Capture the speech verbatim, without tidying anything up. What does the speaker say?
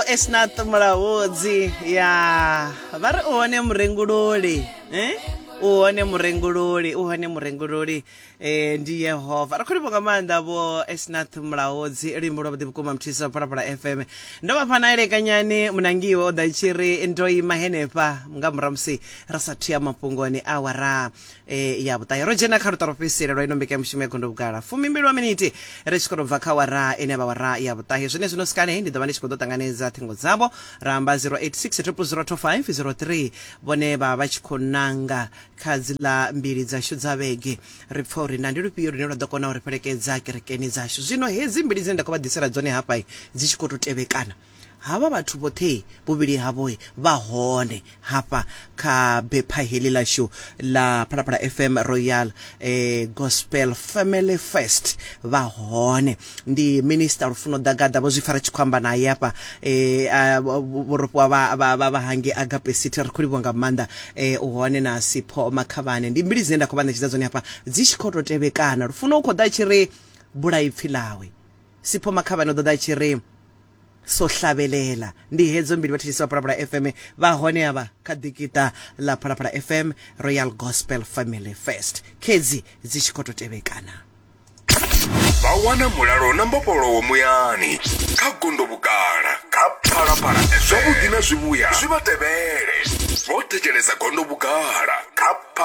Esnath Mulaudzi ya vha ri u hone murengululi eh? U hone murengululi, u hone murengululi, eh, ndi Yehova. Ri khou livhuwa nga maanḓa vho Esnath Mulaudzi, luimbo lwa vhuḓi vhukuma. Mthisa wa Phalaphala F M, ndo vha fha na elekanyani munangiwe o ḓa tshi ri ndo ima henefha nga murahu musi ri sa thuya mafhungoni awara eh, ya vhuṱahe. Ro dzhena kha luṱa lwo fhedzisela lwa ino mbekanyamushumo ya Gondo Vhugala, fumimbili wa miniti ri tshi khou tou bva kha wara ine ya vha wara ya vhuṱahe. Zwene zwino sikale ndi ḓo vha ndi tshi khou ḓo ṱanganedza ṱhingo dzavho, ra amba zero eight six zero zero two five zero three. Vhone vha vha tshi khou nanga kha dziḽa mbili dzashu dza vhege, ri pfa uri na ndi lufhio lune lwa ḓo kona u ri fhelekedza kerekeni dzashu. Zwino hedzi mbili dzine nda khou vha ḓisela dzone hafha dzi tshi khou tou tevhekana, havha vhathu vhoṱhe vhuvhili havho vha hone hafha kha bepha heḽi ḽashu ḽa Phalaphala F M Royal eh, Gospel Family Fest. Vha hone ndi Minister Lufuno Ḓagaḓa, vho zwi fara tshi khou amba naye hafha, eh, a, vho rofhiwa vha vha vha vha hange Agape City. Ri khou livhuwa nga maanḓa. eh, u hone na Sipho Makhavhane. Ndi mbili dzine nda khou vha ṋetshedza dzone hafha dzi tshi khou tou tevhekana. Lufuno u khou ḓa tshi ri bula ipfi ḽawe, Sipho Makhavhane u ḓo ḓa tshi ri so hlavelela. Ndi hedzo mbili, vhathetshelesi vha Phalaphala F M, vha hone avha kha ḓikita ḽa Phalaphala F M Royal Gospel Family Fest, khedzi dzi tshi khou tou tevhekana. Vha wana mulalo na mbofholowo muyani kha Gondo Vhugala kha Phalaphala. Zwavhuḓi na zwivhuya zwi vha tevhele vho thetshelesa Gondo Vhugala kha Phala.